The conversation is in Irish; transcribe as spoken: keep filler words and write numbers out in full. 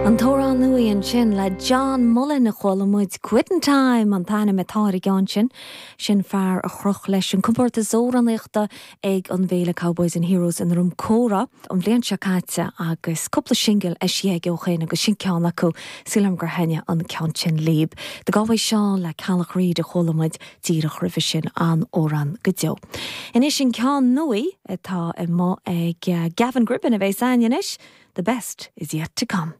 An t-amhrán nua ansin le John Mullen a chuala muid Quitting Time an t-ainm atá ar an gceann sin sin fear a chroch leis an comórtas amhránaíochta ag an bhféile Cowboys and Heroes in Droim Córa an bhliain seo caite agus cúpla singil eisithe aige ó shin agus sin ceann acu sílim gur thaitin an ceann sin libh. The Galway Shawl le Ceallach Reid a chuala muid díreach roimhe sin an amhrán go deo. Anois an ceann nua atá i mo ag Gavin Gribbin a bheidh againn anois, the best is yet to come.